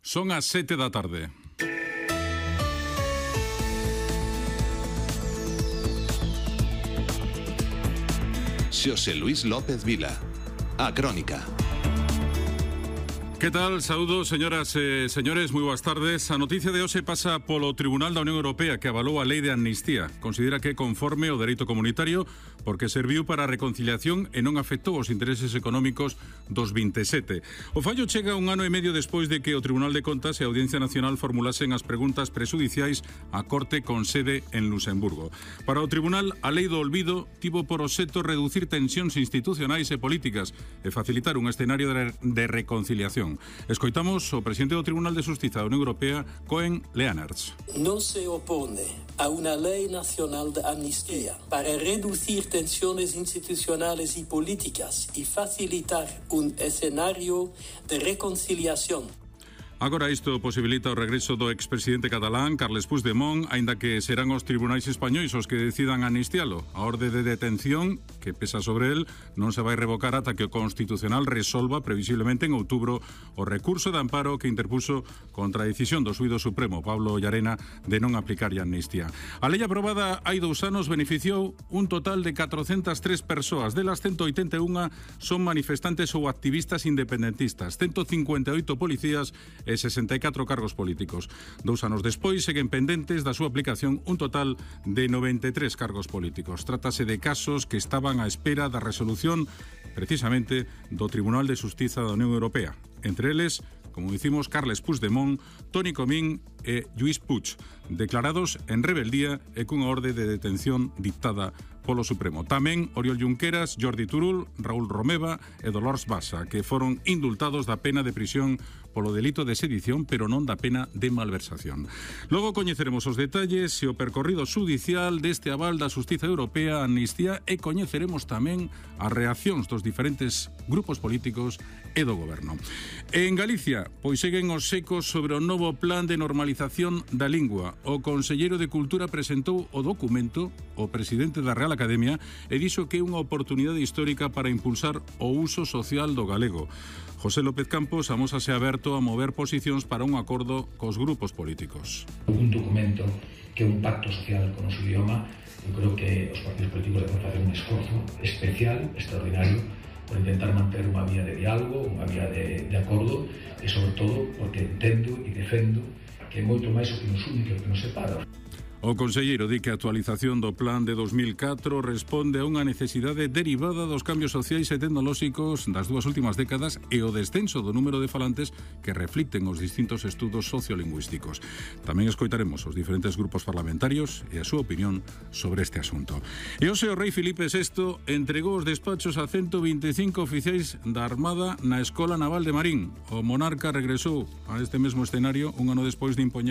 Son as 7 da tarde. Xosé Luís López Vila, a Crónica. Que tal? Saúdos, señoras e señores, moi boas tardes. A noticia de hoxe pasa polo Tribunal da Unión Europea, que avalou a lei de amnistía. Considera que é conforme ao dereito comunitario porque serviu para a reconciliación e non afectou os intereses económicos dos 27. O fallo chega un ano e medio despois de que o Tribunal de Contas e a Audiencia Nacional formulasen as preguntas presudiciais á Corte con sede en Luxemburgo. Para o Tribunal, a lei do olvido tivo por obxecto reducir tensións institucionais e políticas e facilitar un escenario de reconciliación. Escoitamos o presidente do Tribunal de Xustiza da Unión Europea, Koen Lenaerts. No se opone a una ley nacional de amnistía para reducir tensiones institucionales y políticas y facilitar un escenario de reconciliación. Agora isto posibilita o regreso do expresidente catalán, Carles Puigdemont, aínda que serán os tribunais españois os que decidan amnistialo. A orde de detención, que pesa sobre el, non se vai revocar ata que o Constitucional resolva, previsiblemente en outubro, o recurso de amparo que interpuso contra a decisión do xuízo supremo, Pablo Llarena, de non aplicar a amnistía. A lei aprobada hai 2 anos beneficiou un total de 403 persoas, delas 181 son manifestantes ou activistas independentistas, 158 policías e 64 cargos políticos. 2 anos despois seguen pendentes da súa aplicación un total de 93 cargos políticos. Trátase de casos que estaban á espera da resolución precisamente do Tribunal de Xustiza da Unión Europea. Entre eles, como dicimos, Carles Puigdemont, Toni Comín e Lluís Puig, declarados en rebeldía e cunha orde de detención dictada polo Supremo. Tamén Oriol Junqueras, Jordi Turull, Raúl Romeva e Dolors Bassa, que foron indultados da pena de prisión polo delito de sedición, pero non da pena de malversación. Logo coñeceremos os detalles e o percorrido xudicial deste aval da Xustiza Europea a amnistía e coñeceremos tamén as reaccións dos diferentes grupos políticos e do goberno. En Galicia, pois seguen os ecos sobre o novo plan de normalización da lingua. O conselleiro de Cultura presentou o documento o presidente da Real Academia e dixo que é unha oportunidade histórica para impulsar o uso social do galego. José López Campos amósase aberto a mover posicións para un acordo cos grupos políticos. Un documento que é un pacto social con o noso idioma. Eu creo que os partidos políticos deben facer un esforzo especial, extraordinario, por intentar manter unha vía de diálogo, unha vía de acordo, e sobre todo porque entendo e defendo que é moito máis o que nos une que o que nos separa. O conselleiro di que a actualización do plan de 2004 responde a unha necesidade derivada dos cambios sociais e tecnolóxicos das 2 últimas décadas e o descenso do número de falantes que reflicten os distintos estudos sociolingüísticos. Tamén escoitaremos os diferentes grupos parlamentarios e a súa opinión sobre este asunto. E hoxe o rei Filipe VI entregou os despachos a 125 oficiais da Armada na Escola Naval de Marín. O monarca regresou a este mesmo escenario un ano despois de impoñer